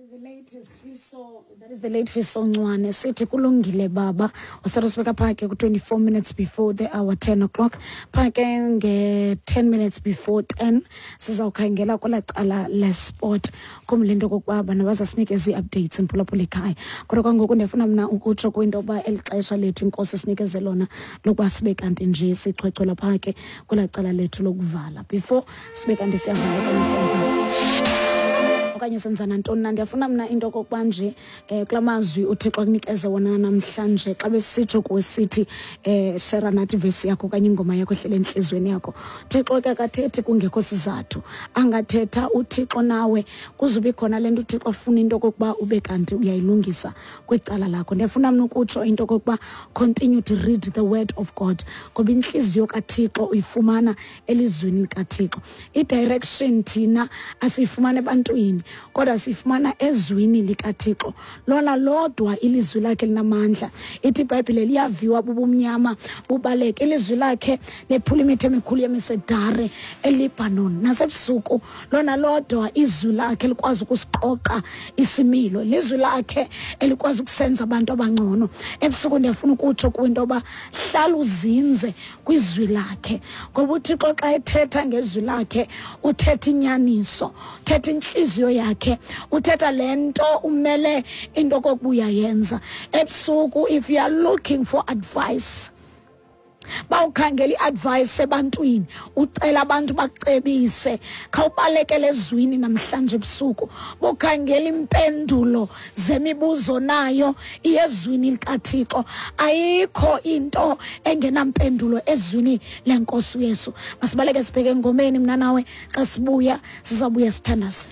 That is the late Fiso Ncwane sithi kulungile baba usatha sibeka phaa ke ku-24 minutes before the hour 10 o'clock. Phaa ke nge-10 minutes before 10 sizawukhangela kwelaa cala lesport khumbula into okokuba bona bazasinikeza ii-updates mphulaphula ekhaya. Kodwa kwangoku ndiyafuna mna ukutsho kwinto yokuba eli xesha lethu inkosi sinikeze lona lokuba sibe kanti nje sichwechwela phaa ke kwelaa cala lethu lokuvala before sibe kanti siyavala okanye senza okanye senza nantoni na. Ndiyafuna mna into okokuba nje um kula mazwi uThixo akunikeze wona namhlanje xa besitsho kuwe sithi um shera nathi ivesi yakho okanye ingoma yakho ehlele entliziyweni yakho. Thixo ke akathethi kungekho sizathu, angathetha uThixo nawe kuzube khona le nto uThixo afuna into okokuba ube kanti uyayilungisa kwicala lakho. Ndiyafuna mna ukutsho into okokuba continue to read the word of God ngoba intliziyo kaThixo uyifumana elizwini likaThixo. I-direction thina asiyifumana ebantwini kodwa siyifumana ezwini likaThixo. Lona lodwa ilizwi lakhe linamandla. Ithi iBhayibhile liyaviwa bubumnyama bubaleke. Ilizwi lakhe lephula imithi emikhulu yemisedare eLebanon. Nasebusuku lona lodwa izwi lakhe likwazi ukusiqoqa isimilo. Lizwi lakhe elikwazi ukusenza abantu abangcono. Ebusuku ndiyafuna ukutsho kwinto yoba hlala uzinze kwizwi lakhe ngoba uThixo xa ethetha ngezwi lakhe uthetha inyaniso, uthetha intliziyo yakhe, uthetha le nto umele into kokubuya yenza. Ebusuku if you are looking for advice, bawukhangela i-advice ebantwini, ucela abantu bakucebise, khawubalekele ezwini namhlanje ebusuku. Bukhangela impendulo zemibuzo nayo iyezwini likaThixo. Ayikho into engenampendulo ezwini lenkosi uYesu. Masibaleke sibheke engomeni mna nawe, xa sibuya sizawubuya sithandaze.